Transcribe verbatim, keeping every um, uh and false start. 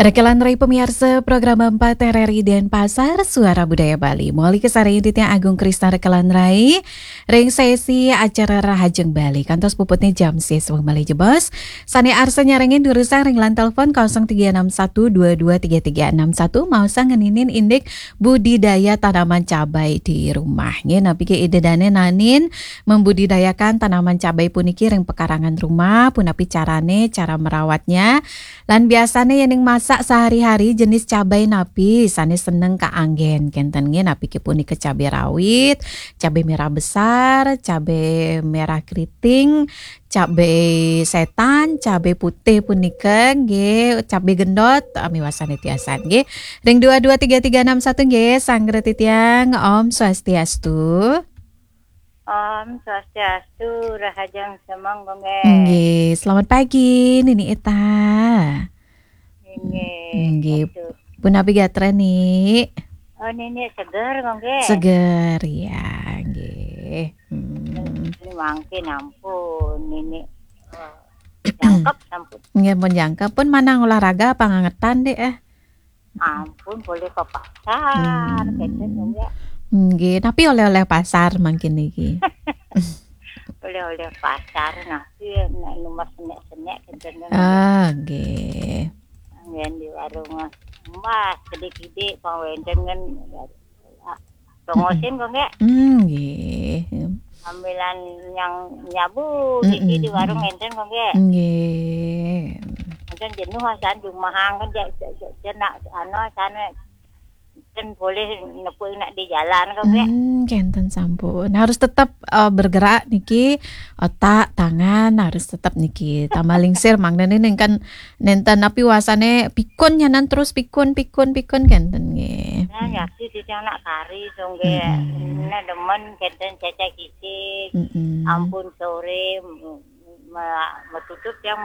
Rekelan Rai pemirsa program empat R R I Denpasar, Suara Budaya Bali. Moli kesarengin titiang Agung Krisna Rekelan Rai ring sesi acara Rahajeng Bali. Kantos puputnya jam siswa malih jebos. Sane arsa nyarengin durusang ring line telepon kosong tiga enam satu dua dua tiga tiga enam satu, maosang ngeninin indik budidaya tanaman cabai di rumah. Nggih, napi ke ida dane nanin membudidayakan tanaman cabai puniki ring pekarangan rumah, punapi carane, cara merawatnya. Lan biasane yening masak sehari-hari jenis cabai napi sane seneng kaanggen kenten nggih, napi ke punika cabai rawit, cabai merah besar, cabai merah keriting, cabai setan, cabai putih punika nggih, cabai gendot, ah, miwasane tiasan nggih. Ring dua dua tiga tiga enam satu nggih, sanggra titiang, Om Swastiastu. Om Swastiastu, Rahajeng Semeng, Gung, nggih. Nggih, selamat pagi, Nini Ita. Nggih. Nggih. Aduh. Punapi gatra, Ni? Oh, Nini seger, Gung, nggih. Seger, ya, nggih. Hmm. Ini mangkin ampun, Nini. Oh, jangkep, ampun. Nggih, pun jangkep. Pun manang olahraga apa ngangetan, Dek, eh? Ampun, boleh ke pasar, Hmm. kenten, Gung, nggih. Nggih, tapi oleh-oleh pasar mangkin niki. Oleh-oleh pasar, nah, iya, nek numbas senek-senek, kenten, Gung, nggih. Ah, nggih. Nggih, di warung, Mas, kede-kede, pang wenten kan, tongosin, Gung, nggih. Hmm, nggih. Sambilan nyang nyabu, Mm-mm. Di warung enten, Gung, nggih. Nggih. Enten jenuh, asan jumahang, kan, ja-, ja-, ja-, jenak, anu, asan, kan boleh nepuk nak di jalan, Gung, nggih. Hmm, kenten sampun. Harus tetap, eh, bergerak niki, otak, tangan harus tetap niki. Tambah lingsir, mangda niki kan nenten napi wasane pikun nyanan terus pikun, pikun, pikun kenten nggih. Nah, Hmm. Ya, si titiang nak kari, Gung, nggih. Mm-mm. Nah, demen kenten cecek kicik. Mm-mm. Ampun sore, m-, me-, metutup yang